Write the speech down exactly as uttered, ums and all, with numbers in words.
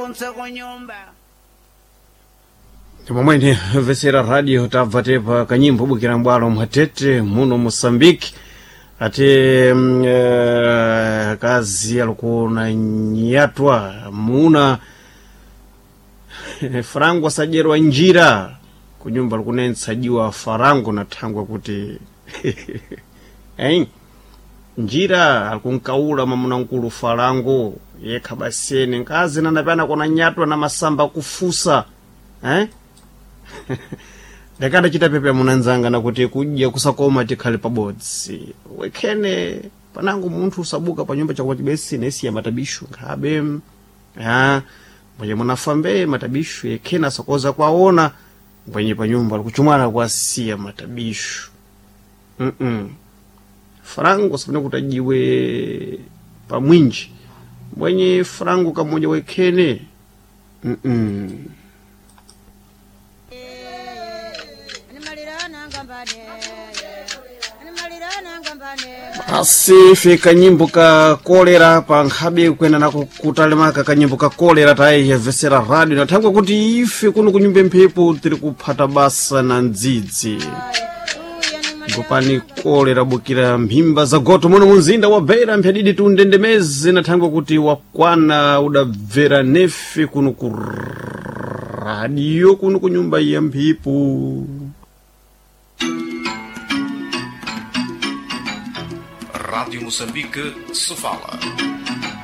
Kunse kunyumba. Momwene vesera radio tabva tepa kanyimbo bukira mbwalo mwatete muno Moçambique ate mm, eh, kazi alikuona nyatwa muna farangu asajerwa njira kunyumba likunensajiwa farangu na thangwa kuti eh njira alikunkaula mamunankulu farangu yekha basene nkazi nanapana kona nyatwa na masamba kufusa eh ndakadachita pepe munanzanga nakuti kudya kusakoma tikhale pabodzi wekhene panango munthu usabuka pa nyumba chakupa chibesi nesiya matabishu nkhabe ah mwenye munafambe matabishu yekhene asakoza kwaona mwenye pa nyumba alikuchumana kwasiya matabishu mm -mm. Farango sifune kuti ajiwe pamwinji mwenye farango kamoja wekhene mm -mm. Asi fika nyimbo ka kolera pa nkhabe kwena nako kutalemaka kanyimbo ka kolera tayiyevesera radio nathangwe kuti ife kuno kunyumba mphepo tiri kuphata basa na ndzidzi ngopani kolera bukira mphimba za goto muno munzinda wa beira mphadidi tundendemeze nathangwe kuti wakwana udabvera nefe kuno ku radio kuno kunyumba ya mphepo. Rádio Moçambique, Sofala.